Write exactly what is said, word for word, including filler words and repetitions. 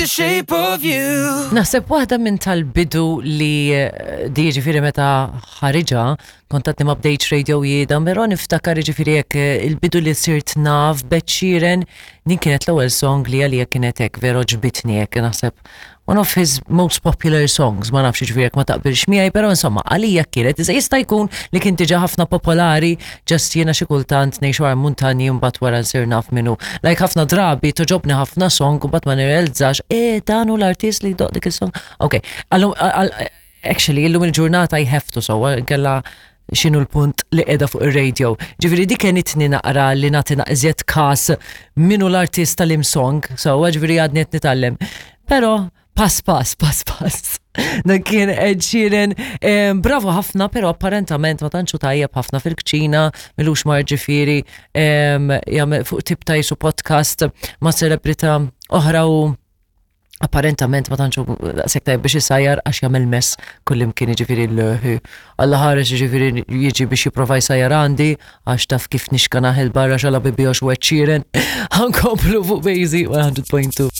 The shape of you. Naħseb waħda minn tal-bidu li eh, di ġifieri meta ħariġa, kontatni ma bdejtx radio jieda, però niftakar ġifieri jekk eh, il-bidu li sirt naf b'Ed Sheeran, din kienet l-ewwel song li għalija kienet hekk vero ġbitni hekk, naħseb one of his most popular songs, ma nafx ġifieri jekk ma taqbilx miegħi, però insomma għalija kienet, iżda jista' jkun li kien diġà ħafna popolari, just jiena xi kultant ngħix wara muntanji u mbagħad wara nsir naf minnu. Like ħafna drabi toġobni ħafna song u mbagħad ma nirrealizzax, e dan hu l-artist li jdoqq dik is-song. Ok, allum actually illum il-ġurnata I have to so, kella x'inhu l-punt li qiegħda fuq ir-radio. Ġifieri dik kenitni naqra li nagħti iżjed kas minnu l-artist tal-im song, so ġifieri għadni qed nitgħallem. Però pass pass, pass pass. Dan kien Ed Sheeran, eh, bravo ħafna, pero apparentament ma tantxu tajjeb ħafna fil-kċina, m'ilux mar ġifieri, em, jagħmel fuq tip ta' jisu podcast ma' celebrità oħra u apparentament ma tantxu daqshekk tajjeb biex isajjar għax jagħmel mess kullimkien, jiġifieri l Alla ħares jiġifieri jiġi biex jipprova jsajjar għandi għax taf kif nixkanaħ il barra xala bibi għax u Ed Sheeran. Ħa nkomplu fuq Bejzi one hundred point two.